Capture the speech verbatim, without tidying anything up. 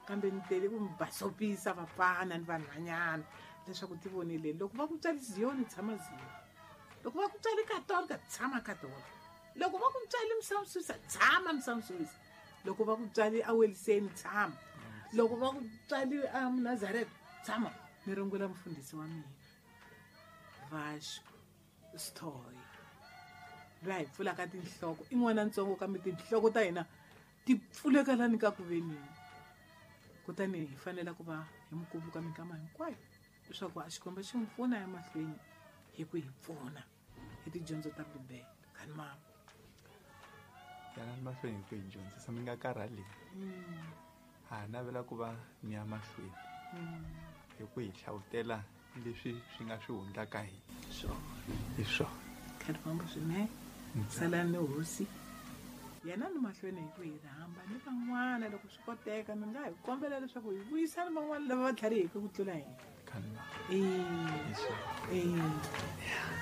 Kambe ni tele ku mi basopisa vafana ni vanhwanyana leswaku ti vonile loko va ku tswali Ziyoni tshama Ziyoni, loko va ku tswali Katolika tshama Katolika, loko va ku tswali Msamsusa tshama Msamsusa, loko va ku tswali Aweliseni tshama, loko va ku tswali a Munazareta tshama. Ni rungula mufundhisi wa mina Vasco Sithoye loyi a hi pfulaka tinhloko, i n'wana ntsongo kambe tinhloko ta hina ti pfuleka lani ka ku venini. Kutani hi fanele ku va hi mi kumbuka minkama hinkwayo leswaku a Xikwembu xi n'wi pfuna emahlweni hi ku hi pfuna hi tidyondzo ta Bibele. Khani mama, yanani mahlweni hi ku hi dyondzisa, mi nga karhali. Ha navela ku va ni ya mahlweni hi ku hi hlavutela leswi swi nga swi hundla ka hina. Swona hi swona. Khani mama swinene, salani ni hosi yena ni mahlweni hi ku hi rhamba ni van'wana loko swi koteka. Mi nga hi kombela leswaku hi vuyisana van'wana lava va tlhariheke ku tlula hina. Khani mama, Eh, hi swona. eh.